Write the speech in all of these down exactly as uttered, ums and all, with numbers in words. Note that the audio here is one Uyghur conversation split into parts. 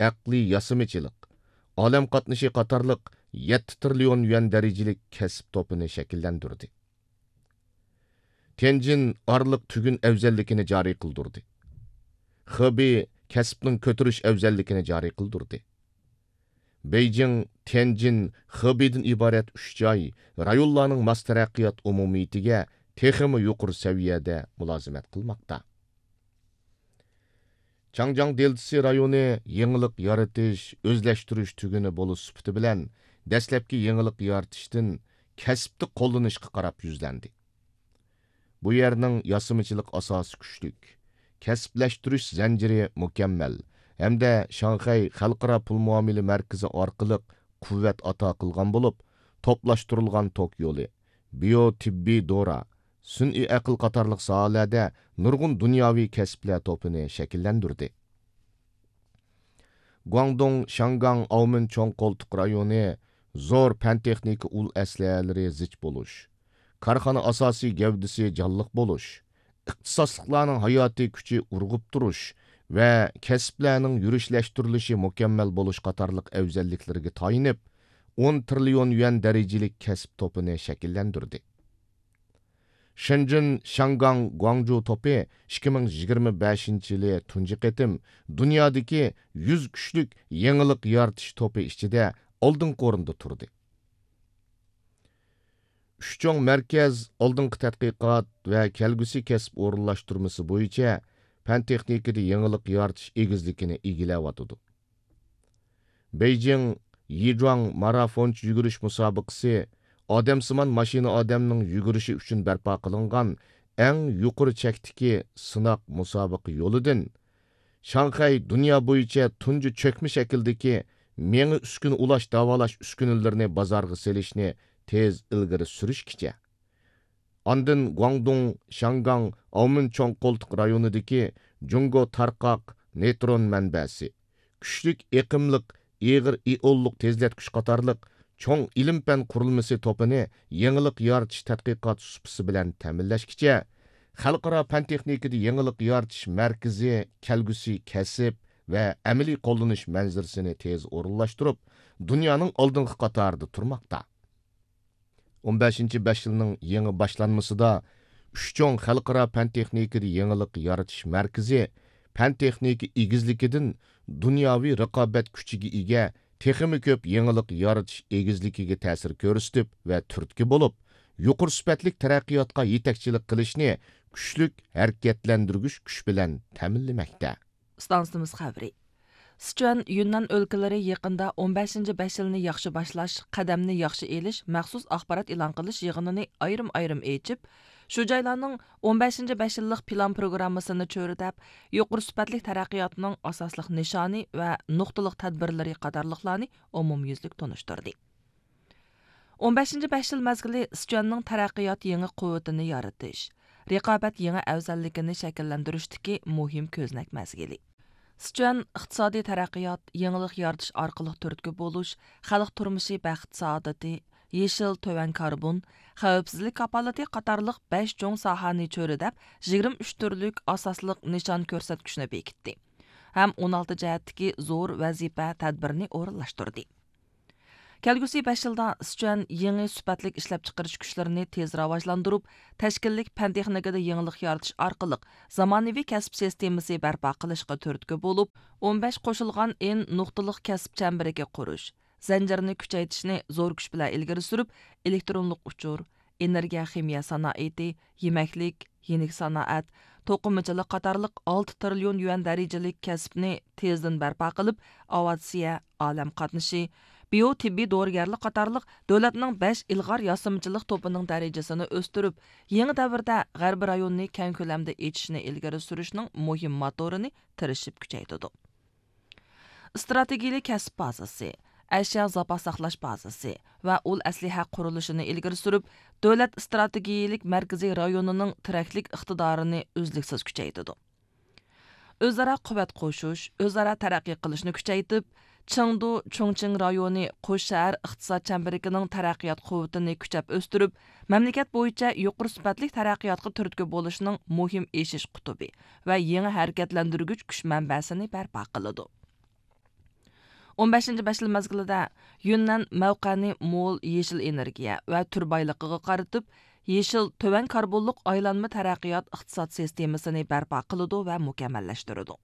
ئەقلىي ياسىمىچىلىق، ئالەم قاتنىشى قاتارلىق يەتتە تىرىليون يۈەن دەرىجىلىك كەسىپ توپىنى شەكىللەندۈردى. تيەنجىن ئارىلىق تۈگۈن ئەۋزەللىكىنى جارى قىلدۇردى. خېبېي كەسىپنىڭ كۆتۈرۈش ئەۋزەللىكىنى جارى قىلدۇردى. بېيجىڭ، تيەنجىن، خېبېيدىن ئىبارەت ئۈچ جاي رايونلارنىڭ ماس تەرەققىيات ئومۇمىيىتىگە تېخىمۇ يۇقىرى سەۋىيەدە مۇلازىمەت قىلماقتا. چاڭجياڭ دېلتىسى رايونى يېڭىلىق يارىتىش، ئۆزلەشتۈرۈش تۈگۈنى بولۇش سۈپىتى بىلەن دەسلەپكى يېڭىلىق يارىتىشتىن كەسىپتە قوللىنىشقا قاراپ يۈزلەندى. بۇ يەرنىڭ ياسىمىچىلىق ئاساسى كۈچلۈك، كەسىپلەشتۈرۈش زەنجىرى مۇكەممەل ھەمدە شاڭخەي خەلقئارا پۇل مۇئامىلە مەركىزى ئارقىلىق قۇۋۋەت ئاتا قىلغان بولۇپ، توپلاشتۇرۇلغان توك يولى، بىيو تېببىي دورا، سۈنئىي ئەقىل قاتارلىق ساھەلەردە نۇرغۇن دۇنياۋى كەسىپلەر توپىنى شەكىللەندۈردى. گۇاڭدۇڭ، شياڭگاڭ، ئاۋمېن چوڭ قولتۇق رايونى زور پەن تېخنىكا ئۇل ئەسلىھەلىرى زىچ بولۇش، كارخانا ئاساسىي گەۋدىسى جانلىق بولۇش، ئىختىساسلىقلارنىڭ ھاياتىي كۈچى ئۇرغۇپ تۇرۇش ۋە كەسىپلەرنىڭ يۈرۈشلەشتۈرۈلۈشى مۇكەممەل بولۇش قاتارلىق ئەۋزەللىكلىرىگە تايىنىپ، ئون تىرىليون يۈەن دەرىجىلىك كەسىپ توپىنى شەكىللەندۈردى. شېنجېن، شياڭگاڭ، گۇاڭجۇ توپى ئىككى مىڭ يىگىرمە بەشىنچى يىلى تۇنجى قېتىم دۇنيادىكى يۈز كۈچلۈك يېڭىلىق يارىتىش توپى ئىچىدە ئالدىنقى ئورۇندا تۇردى. ئۈچ چوڭ مەركەز ئالدىنقى تەتقىقات ۋە كەلگۈسى كەسىپ ئورۇنلاشتۇرمىسى بويىچە پەن تېخنىكىدا يېڭىلىق يارىتىش ئېگىزلىكىنى ئىگىلەۋاتىدۇ. بېيجىڭ، يىجۇاڭ مارافونچە يۈگۈرۈش مۇسابىقىسى ئادەمسىمان ماشىنا ئادەمنىڭ يۈگۈرۈشى ئۈچۈن بەرپا قىلىنغان ئەڭ يۇقىرى چەكتىكى سىناق مۇسابىقە يولىدىن، شاڭخەي دۇنيا بويىچە تۇنجى چۆكمە شەكىلدىكى مېڭە ئۈسكۈنە ئۇلاش داۋالاش ئۈسكۈنىلىرىنى بازارغا سېلىشنى تېز ئىلگىرى سۈرۈشكىچە، ئاندىن گۇاڭدۇڭ، شياڭگاڭ، ئاۋمېن چوڭ قولتۇق رايونىدىكى جۇڭگو تارقاق نېيترون مەنبەسى، كۈچلۈك ئېقىملىق ئېغىر ئىئونلۇق تېزلەتكۈچ قاتارلىق چوڭ ئىلىم-پەن قۇرۇلمىسى توپىنى يېڭىلىق يارىتىش تەتقىقات سۇپىسى بىلەن تەمىنلەشكىچە، خەلقئارا پەن-تېخنىكىدا يېڭىلىق يارىتىش مەركىزى كەلگۈسى كەسىپ ۋە ئەمەلىي قوللىنىش مەنزىرىسىنى تېز ئورۇنلاشتۇرۇپ، دۇنيانىڭ ئالدىنقى قاتارىدا تۇرماقتا. ئون بەشىنچى بەش يىلنىڭ يېڭى باشلانمىسىدا ئۈچ چوڭ خەلقئارا پەن-تېخنىكىدا يېڭىلىق يارىتىش مەركىزى پەن-تېخنىكا ئېگىزلىكىدىن دۇنياۋى رىقابەت كۈچىگە ئىگە تېخىمۇ كۆپ يېڭىلىق يارىتىش ئېگىزلىكىگە تەسىر كۆرسىتىپ ۋە تۈرتكە بولۇپ، يۇقىرى سۈپەتلىك تەرەققىياتقا يېتەكچىلىك قىلىشنى كۈچلۈك ھەرىكەتلەندۈرگۈچ كۈچ بىلەن تەمىنلىمەكتە. ئىستانسىمىز خەۋىرى. سىچۈەن، يۈننەن ئۆلكىلىرى يېقىندا ئون بەشىنچى بەش يىلنى ياخشى باشلاش، قەدەمنى ياخشى ئېلىش مەخسۇس ئاخبارات ئېلان قىلىش يىغىنىنى ئايرىم-ئايرىم ئېچىپ، شۇ جايلارنىڭ ئون بەشىنچى بەش يىللىق پىلان پروگراممىسىنى چۆرىدەپ، يۇقىرى سۈپەتلىك تەرەققىياتنىڭ ئاساسلىق نىشانى ۋە نۇقتىلىق تەدبىرلىرى قاتارلىقلارنى ئومۇميۈزلۈك تونۇشتۇردى. ئون بەشىنچى بەش يىل مەزگىلى سىچۈەننىڭ تەرەققىيات يېڭى قۇۋۋىتىنى يارىتىش، رىقابەت يېڭى ئەۋزەللىكىنى شەكىللەندۈرۈشتىكى مۇھىم كۆزنەك مەزگىلى. سىچۈەن ئىقتىسادىي تەرەققىيات، يېڭىلىق يارىتىش ئارقىلىق تۈرتكە بولۇش، خەلق تۇرمۇشى بەخت-سائادىتى، يېشىل، تۆۋەن كاربون، خەۋپسىزلىك كاپالىتى قاتارلىق بەش چوڭ ساھەنى چۆرىدەپ، يىگىرمە ئۈچ تۈرلۈك ئاساسلىق نىشان كۆرسەتكۈچنى بېكىتتى ھەم ئون ئالتە جەھەتتىكى زور ۋەزىپە تەدبىرىنى ئورۇنلاشتۇردى. كەلگۈسى بەش يىلدا سىچۈەن يېڭى سۈپەتلىك ئىشلەپچىقىرىش كۈچلىرىنى تېز راۋاجلاندۇرۇپ، تەشكىللىك پەن-تېخنىكىدا يېڭىلىق يارىتىش ئارقىلىق زامانىۋى كەسىپ سىستېمىسى بەرپا قىلىشقا تۈرتكە بولۇپ، ئون بەش قوشۇلغان ئېن نۇقتىلىق كەسىپ چەمبىرىكى قۇرۇش زەنجىرىنى كۈچەيتىشنى زور كۈچ بىلەن ئىلگىرى سۈرۈپ، ئېلېكترونلۇق ئۇچۇر، ئېنېرگىيە خىمىيە سانائىتى، يېمەكلىك، يېنىك سانائەت، توقۇمىچىلىق قاتارلىق ئالتە تىرىليون يۈەن دەرىجىلىك كەسىپنى تېزدىن بەرپا قىلىپ، ئاۋىئاتسىيە، ئالەم قاتنىشى، بىيو تېببىي دورىگەرلىك قاتارلىق دۆلەتنىڭ بەش ئىلغار ياسىمىچىلىق توپىنىڭ دەرىجىسىنى ئۆستۈرۈپ، يېڭى دەۋردە غەربىي رايوننى كەڭ كۆلەمدە ئېچىشنى ئىلگىرى سۈرۈشنىڭ مۇھىم موتورىنى تىرىشىپ كۈچەيتىدۇ. ئىستراتېگىيىلىك كەسىپ بازىسى، ئەشيا زاپاس ساقلاش بازىسى ۋە ئۇل ئەسلىھە قۇرۇلۇشىنى ئىلگىرى سۈرۈپ، دۆلەت ئىستراتېگىيىلىك مەركىزىي رايونىنىڭ تىرەكلىك ئىقتىدارىنى ئۈزلۈكسىز كۈچەيتىدۇ. ئۆزئارا قۇۋۋەت قوشۇش، ئۆزئارا تەرەققىي قىلىشنى كۈچەيتىپ، چېڭدۇ چۇڭچىڭ رايونى قوش شەھەر ئىقتىساد چەمبىرىكىنىڭ تەرەققىيات قۇۋۋىتىنى كۈچەپ ئۆستۈرۈپ، مەملىكەت بويىچە يۇقىرى سۈپەتلىك تەرەققىياتقا تۈرتكە بولۇشنىڭ مۇھىم ئېشىش قۇتۇپى ۋە يېڭى ھەرىكەتلەندۈرگۈچ كۈچ مەنبەسىنى بەرپا قىلىدۇ. ئون بەشىنچى بەش يىل مەزگىلىدە يۈننەن مەۋقەنى مول يېشىل ئېنېرگىيە ۋە تۈر بايلىقىغا قارىتىپ، يېشىل، تۆۋەن كاربونلۇق ئايلانما تەرەققىيات ئىقتىساد سىستېمىسىنى بەرپا قىلىدۇ ۋە مۇكەممەللەشتۈرىدۇ.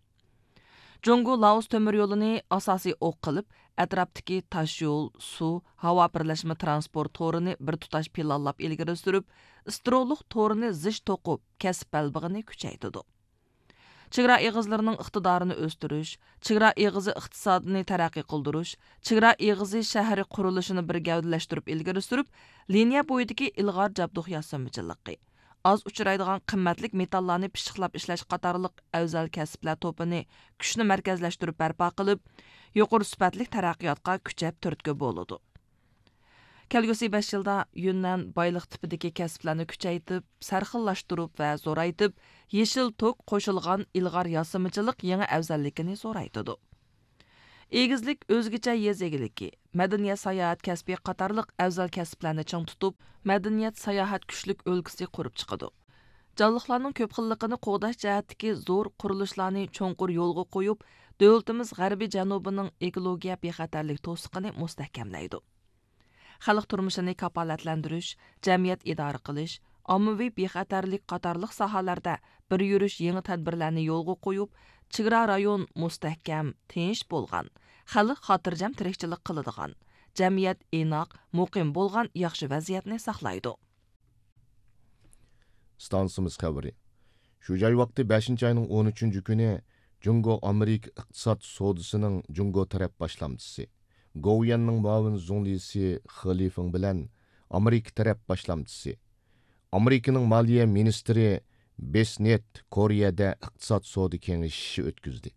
جۇڭگو لائوس تۆمۈر يولىنى ئاساسىي ئوق قىلىپ، ئەتراپتىكى تاشيول، سۇ، ھاۋا بىرلەشمە ترانسپورت تورىنى بىر تۇتاش پىلانلاپ ئىلگىرى سۈرۈپ، ئىسترولۇق تورىنى زىچ توقۇپ، كەسىپ بەلبېغىنى كۈچەيتىدۇ. چېگرا ئېغىزلىرىنىڭ ئىقتىدارىنى ئۆستۈرۈش، چېگرا ئېغىزى ئىقتىسادىنى تەرەققىي قىلدۇرۇش، چېگرا ئېغىزى شەھىرى قۇرۇلۇشىنى بىر گەۋدىلەشتۈرۈپ ئىلگىرى سۈرۈپ، لىنىيە بويىدىكى ئىلغار جابدۇق ياسىمىچىلىقى، ئاز ئۇچرايدىغان قىممەتلىك مېتاللارنى پىششىقلاپ ئىشلەش قاتارلىق ئەۋزەل كەسىپلەر توپىنى كۈچنى مەركەزلەشتۈرۈپ بەرپا قىلىپ، يۇقىرى سۈپەتلىك تەرەققىياتقا كۈچەپ تۈرتكە بولىدۇ. كەلگۈسى بەش يىلدا يۈننەن بايلىق تىپىدىكى كەسىپلەرنى كۈچەيتىپ، سەرخىللاشتۇرۇپ ۋە زورايتىپ، يېشىل توك قوشۇلغان ئىلغار ياسىمىچىلىق يېڭى ئەۋزەللىكىنى زورايتىدۇ. ئېگىزلىك ئۆزگىچە يېزا ئىگىلىكى، مەدەنىيەت ساياھەت كەسپى قاتارلىق ئەۋزەل كەسىپلەرنى چىڭ تۇتۇپ، مەدەنىيەت ساياھەت كۈچلۈك ئۆلكىسى قۇرۇپ چىقىدۇ. جانلىقلارنىڭ كۆپ خىللىقىنى قوغداش جەھەتتىكى زور قۇرۇلۇشلارنى چوڭقۇر يولغا قويۇپ، دۆلىتىمىز غەربىي جەنۇبىنىڭ ئېكولوگىيە بىخەتەرلىك توسۇقىنى مۇستەھكەملەيدۇ. خەلق تۇرمۇشىنى كاپالەتلەندۈرۈش، جەمئىيەت ئىدارە قىلىش، ئاممىۋى بىخەتەرلىك قاتارلىق ساھەلەردە بىر يۈرۈش يېڭى تەدبىرلەرنى يولغا قويۇپ، چېگرا رايون مۇستەھكەم، تىنچ بولغان، خەلق خاتىرجەم تىرىكچىلىك قىلىدىغان، جەمئىيەت ئىناق، مۇقىم بولغان ياخشى ۋەزىيەتنى ساقلايدۇ. ئىستانسىمىز خەۋىرى. شۇ جاي ۋاقتى بەشىنچى ئاينىڭ ئون ئۈچىنچى كۈنى جۇڭگو ئامېرىكا ئىقتىساد سودىسىنىڭ جۇڭگو تەرەپ باشلامچىسى، گوۋۇيۈەننىڭ مۇئاۋىن زۇڭلىسى خې لىفېڭ بىلەن ئامېرىكا تەرەپ باشلامچىسى، ئامېرىكىنىڭ مالىيە مىنىستىرى بېسنېت كورېيەدە ئىقتىساد سودا كېڭىشىشى ئۆتكۈزدى.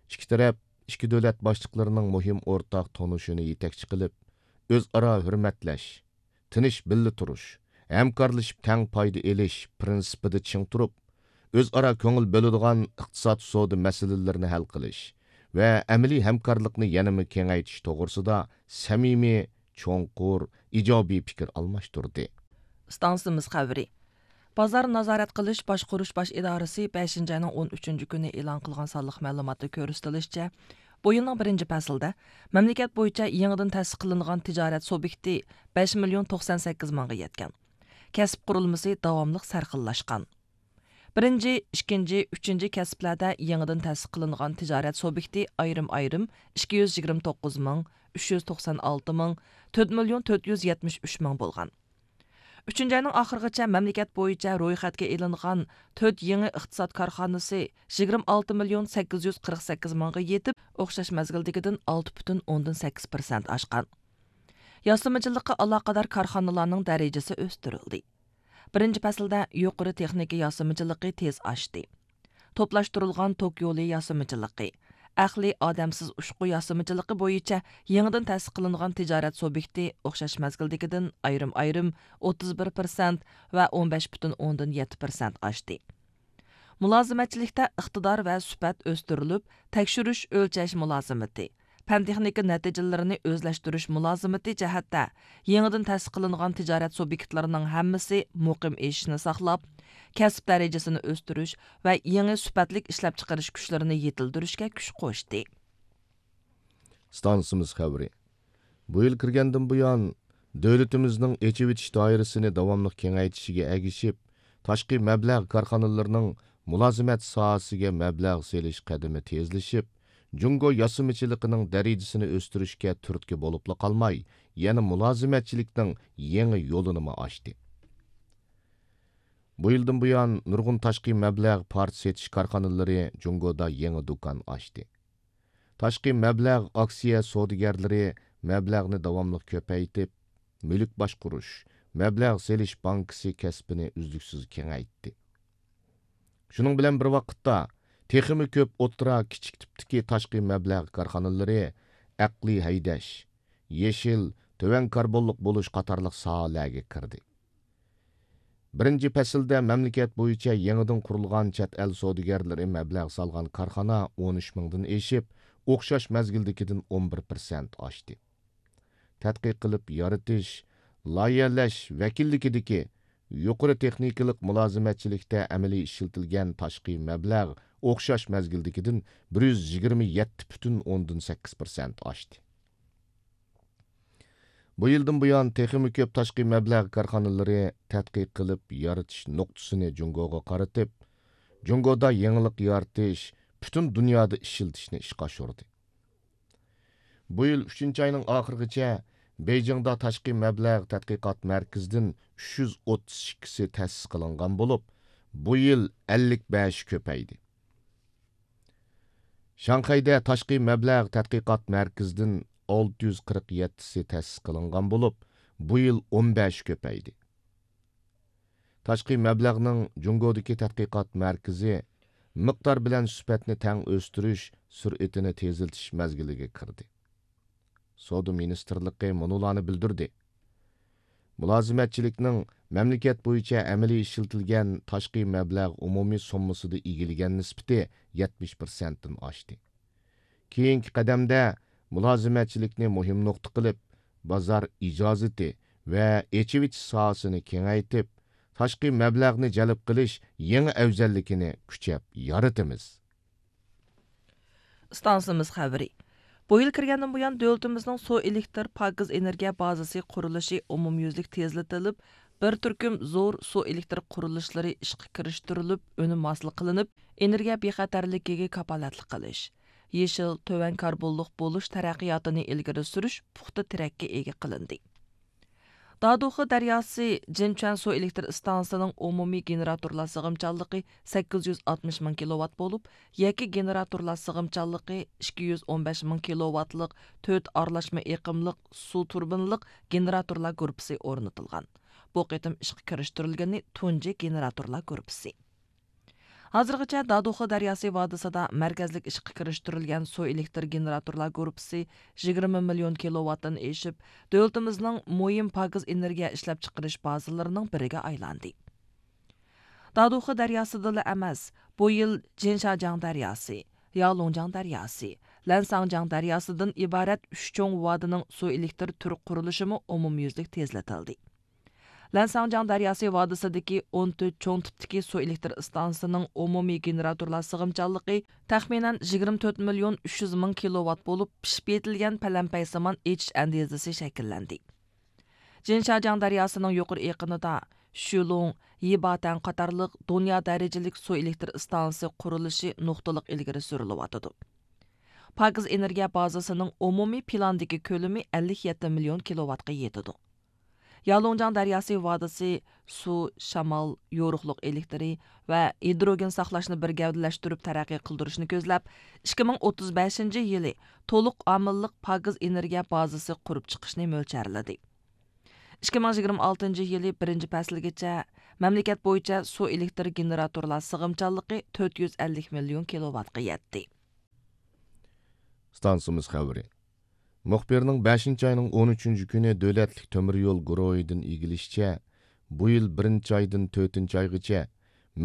ئىككى تەرەپ ئىككى دۆلەت باشلىقلىرىنىڭ مۇھىم ئورتاق تونۇشىنى يېتەكچى قىلىپ، ئۆزئارا ھۆرمەتلەش، تىنچ بىللە تۇرۇش، ھەمكارلىشىپ تەڭ پايدا ئېلىش پىرىنسىپىدا چىڭ تۇرۇپ، ئۆزئارا كۆڭۈل بۆلىدىغان ئىقتىساد سودا مەسىلىلىرىنى ھەل قىلىش ۋە ئەمەلىي ھەمكارلىقنى يەنىمۇ كېڭەيتىش توغرىسىدا سەمىمىي، چوڭقۇر، ئىجابىي پىكىر ئالماشتۇردى. ئىستانسىمىز خەۋىرى. بازار نازارەت قىلىش باشقۇرۇش باش ئىدارىسى بەشىنچى ئاينىڭ ئون ئۈچىنچى كۈنى ئېلان قىلغان سانلىق مەلۇماتتا كۆرسىتىلىشىچە، بۇ يىلنىڭ بىرىنچى پەسلىدە مەملىكەت بويىچە يېڭىدىن تەسىس قىلىنغان تىجارەت سۇبيېكتى بەش مىليون توقسان سەككىز مىڭغا يەتكەن. كەسىپ قۇرۇلمىسى داۋاملىق سەرخىللاشقان. بىرىنچى، ئىككىنچى، ئۈچىنچى كەسىپلەردە يېڭىدىن تەسىس قىلىنغان تىجارەت سۇبيېكتى ئايرىم-ئايرىم ئىككى يۈز يىگىرمە توققۇز مىڭ، ئۈچ يۈز توقسان ئالتە مىڭ، تۆت مىليون تۆت يۈز يەتمىش ئۈچ مىڭ بولغان. ئۈچىنچى ئاينىڭ ئاخىرىغىچە مەملىكەت بويىچە رويخەتكە ئېلىنغان تۆت يېڭى ئىقتىساد كارخانىسى يىگىرمە ئالتە مىليون سەككىز يۈز قىرىق سەككىز مىڭغا يېتىپ، ئوخشاش مەزگىلدىكىدىن ئالتە پۈتۈن ئوندىن سەككىز پىرسەنت ئاشقان. ياسىمىچىلىققا ئالاقىدار كارخانىلارنىڭ دەرىجىسى ئۆستۈرۈلدى. بىرىنچى پەسىلدە يۇقىرى تېخنىكا ياسىمىچىلىقى تېز ئاشتى. توپلاشتۇرۇلغان توك يولى ياسىمىچىلىقى، ئەقلىي ئادەمسىز ئۇچقۇ ياسىمىچىلىقى بويىچە يېڭىدىن تەسىس قىلىنغان تىجارەت سۇبيېكتى ئوخشاش مەزگىلدىكىدىن ئايرىم-ئايرىم ئوتتۇز بىر پىرسەنت ۋە ئون بەش پۈتۈن ئوندىن يەتتە پىرسەنت ئاشتى. مۇلازىمەتچىلىكتە ئىقتىدار ۋە سۈپەت ئۆستۈرۈلۈپ، تەكشۈرۈش ئۆلچەش مۇلازىمىتى، پەن-تېخنىكا نەتىجىلىرىنى ئۆزلەشتۈرۈش مۇلازىمىتى جەھەتتە يېڭىدىن تەسىس قىلىنغان تىجارەت سۇبيېكتلىرىنىڭ ھەممىسى مۇقىم ئېشىشنى ساقلاپ، كەسىپ دەرىجىسىنى ئۆستۈرۈش ۋە يېڭى سۈپەتلىك ئىشلەپچىقىرىش كۈچلىرىنى يېتىلدۈرۈشكە كۈچ قوشتى. ئىستانسىمىز خەۋىرى. بۇ يىل كىرگەندىن بۇيان، دۆلىتىمىزنىڭ ئېچىۋېتىش دائىرىسىنى داۋاملىق كېڭەيتىشىگە ئەگىشىپ، تاشقى مەبلەغ كارخانىلىرىنىڭ مۇلازىمەت ساھەسىگە مەبلەغ سېلىش قەدىمى تېزلىشىپ، جۇڭگو ياسىمىچىلىقىنىڭ دەرىجىسىنى ئۆستۈرۈشكە تۈرتكە بولۇپلا قالماي، يەنە مۇلازىمەتچىلىكنىڭ يېڭى يولىنىمۇ ئاچتى. بۇ يىلدىن بۇيان، نۇرغۇن تاشقى مەبلەغ پارچە سېتىش كارخانىلىرى جۇڭگودا يېڭى دۇكان ئاچتى. تاشقى مەبلەغ ئاكسىيە سودىگەرلىرى مەبلەغنى داۋاملىق كۆپەيتىپ، مۈلۈك باشقۇرۇش، مەبلەغ سېلىش بانكىسى كەسپىنى ئۈزلۈكسىز كېڭەيتتى. شۇنىڭ بىلەن بىر ۋاقىتتا، تېخىمۇ كۆپ ئوتتۇرا، كىچىك تىپتىكى تاشقى مەبلەغ كارخانىلىرى ئەقلىي ھەيدەش، يېشىل، تۆۋەن كاربونلۇق بولۇش قاتارلىق ساھەلەرگە كىردى. بىرىنچى پەسىلدە مەملىكەت بويىچە يېڭىدىن قۇرۇلغان چەت ئەل سودىگەرلىرى مەبلەغ سالغان كارخانا ئون ئۈچ مىڭدىن ئېشىپ، ئوخشاش مەزگىلدىكىدىن ئون بىر پىرسەنت ئاشتى. تەتقىق قىلىپ يارىتىش، لايىھەلەش ۋەكىللىكىدىكى يۇقىرى تېخنىكىلىق مۇلازىمەتچىلىكتە ئەمەلىي ئىشلىتىلگەن تاشقى مەبلەغ ئوخشاش مەزگىلدىكىدىن بىر يۈز يىگىرمە يەتتە پۈتۈن ئوندىن سەككىز پىرسەنت ئاشتى. بۇ يىلدىن بۇيان، تېخىمۇ كۆپ تاشقى مەبلەغ كارخانىلىرى تەتقىق قىلىپ يارىتىش نۇقتىسىنى جۇڭگوغا قارىتىپ، جۇڭگودا يېڭىلىق يارىتىش، پۈتۈن دۇنيادا ئىشلىتىشنى ئىشقا ئاشۇردى. بۇ يىل ئۈچىنچى ئاينىڭ ئاخىرىغىچە بېيجىڭدا تاشقى مەبلەغ تەتقىقات مەركىزىدىن ئۈچ يۈز ئوتتۇز ئىككىسى تەسىس قىلىنغان بولۇپ، بۇ يىل ئەللىك بەشى كۆپەيدى. شاڭخەيدە تاشقى مەبلەغ تەتقىقات مەركىزىدىن ئالتە يۈز قىرىق يەتتىسى تەسىس قىلىنغان بولۇپ، بۇ يىل ئون بەشى كۆپەيدى. تاشقى مەبلەغنىڭ جۇڭگودىكى تەتقىقات مەركىزى مىقدار بىلەن سۈپەتنى تەڭ ئۆستۈرۈش سۈرئىتىنى تېزلىتىش مەزگىلىگە كىردى. سودا مىنىستىرلىقى مۇنۇلارنى بىلدۈردى: مۇلازىمەتچىلىكنىڭ مەملىكەت بويىچە ئەمەلىي ئىشلىتىلگەن تاشقى مەبلەغ ئومۇمىي سوممىسىدا ئىگىلىگەن نىسبىتى يەتمىش پىرسەنتتىن ئاشتى. كېيىنكى قەدەمدە مۇلازىمەتچىلىكنى مۇھىم نۇقتا قىلىپ، بازار ئىجازىتى ۋە ئېچىۋېتىش ساھەسىنى كېڭەيتىپ، تاشقى مەبلەغنى جەلپ قىلىش يېڭى ئەۋزەللىكىنى كۈچەپ يارىتىمىز. ئىستانسىمىز خەۋىرى. بۇ يىل كىرگەندىن بۇيان، دۆلىتىمىزنىڭ سۇ ئېلېكتىر پاكىز ئېنېرگىيە بازىسى قۇرۇلۇشى ئومۇميۈزلۈك تېزلىتىلىپ، بىر تۈركۈم زور سۇ ئېلېكتر قۇرۇلۇشلىرى ئىشقا كىرىشتۈرۈلۈپ، ئۈنۈم ھاسىل قىلىنىپ، ئېنېرگىيە بىخەتەرلىكىگە كاپالەتلىك قىلىش، يېشىل، تۆۋەن كاربونلۇق بولۇش تەرەققىياتىنى ئىلگىرى سۈرۈش پۇختا تىرەككە ئىگە قىلىندى. دادۇخې دەرياسى جىنچۈەن سۇ ئېلېكتر ئىستانسىسىنىڭ ئومۇمىي گېنېراتورلار سىغىمچانلىقى سەككىز يۈز ئاتمىش مىڭ كىلوۋات بولۇپ، يەككە گېنېراتورلار سىغىمچانلىقى ئىككى يۈز ئون بەش مىڭ كىلوۋاتلىق تۆت ئارىلاشما ئېقىملىق سۇ تۇربىنىلىق گېنېراتورلار گۇرۇپپىسى ئورنىتىلغان. بۇ قېتىم ئىشقا كىرىشتۈرۈلگىنى تۇنجى گېنېراتورلار گۇرۇپپىسى. ھازىرغىچە دادۇخې دەرياسى ۋادىسىدا مەركەزلىك ئىشقا كىرىشتۈرۈلگەن سۇ ئېلېكتر گېنېراتورلار گۇرۇپپىسى يىگىرمە مىليون كىلوۋاتتىن ئېشىپ، دۆلىتىمىزنىڭ مۇھىم پاكىز ئېنېرگىيە ئىشلەپچىقىرىش بازىلىرىنىڭ بىرىگە ئايلاندى. دادۇخې دەرياسىدىلا ئەمەس، بۇ يىل جىنشاجياڭ دەرياسى، يالۇڭجياڭ دەرياسى، لەنساڭجياڭ دەرياسىدىن ئىبارەت ئۈچ چوڭ ۋادىنىڭ سۇ ئېلېكتر تۈر قۇرۇلۇشىمۇ ئومۇميۈزلۈك تېزلىتىلدى. لەنساڭجياڭ دەرياسى ۋادىسىدىكى ئون تۆت چوڭ تىپتىكى سۇ ئېلېكتر ئىستانسىسىنىڭ ئومۇمىي گېنېراتورلار سىغىمچانلىقى تەخمىنەن يىگىرمە تۆت مىليون ئۈچ يۈز مىڭ كىلوۋات بولۇپ، پىشىپ يېتىلگەن پەلەمپەي سىمان ئېچىش ئەندىزىسى شەكىللەندى. جىنشاجياڭ دەرياسىنىڭ يۇقىرى ئېقىنىدا شۈلۇڭ، يىباتەن قاتارلىق دۇنيا دەرىجىلىك سۇ ئېلېكتر ئىستانسىسى قۇرۇلۇشى نۇقتىلىق ئىلگىرى سۈرۈلۈۋاتىدۇ. پاكىز ئېنېرگىيە بازىسىنىڭ ئومۇمىي پىلاندىكى كۆلىمى ئەللىك يەتتە مىليون كىلوۋاتقا يېتىدۇ. يالۇڭجياڭ دەرياسى ۋادىسى سۇ، شامال، يورۇقلۇق ئېلېكتىرى ۋە ھىدروگېن ساقلاشنى بىر گەۋدىلەشتۈرۈپ تەرەققىي قىلدۇرۇشنى كۆزلەپ، ئىككى مىڭ ئوتتۇز بەشىنچى يىلى تولۇق ئامىللىق پاكىز ئېنېرگىيە بازىسى قۇرۇپ چىقىشنى مۆلچەرلىدى. ئىككى مىڭ يىگىرمە ئالتىنچى يىلى بىرىنچى پەسىلگىچە مەملىكەت بويىچە سۇ ئېلېكتر گېنېراتورلار سىغىمچانلىقى تۆت يۈز ئەللىك مىليون كىلوۋاتقا يەتتى. ئىستانسىمىز خەۋىرى. مۇخبىرنىڭ بەشىنچى ئاينىڭ ئون ئۈچىنچى كۈنى دۆلەتلىك تۆمۈر يول گۇرۇھىدىن ئىگىلىشىچە، بۇ يىل بىرىنچى ئايدىن تۆتىنچى ئايغىچە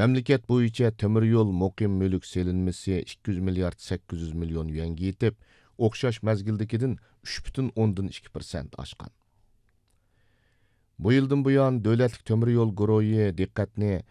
مەملىكەت بويىچە تۆمۈر يول مۇقىم مۈلۈك سېلىنمىسى ئىككى يۈز مىليارد سەككىز يۈز مىليون يۈەنگە يېتىپ، ئوخشاش مەزگىلدىكىدىن ئۈچ پۈتۈن ئوندىن ئىككى پىرسەنت ئاشقان. بۇ يىلدىن بۇيان، دۆلەتلىك تۆمۈر يول گۇرۇھى دىققەتنى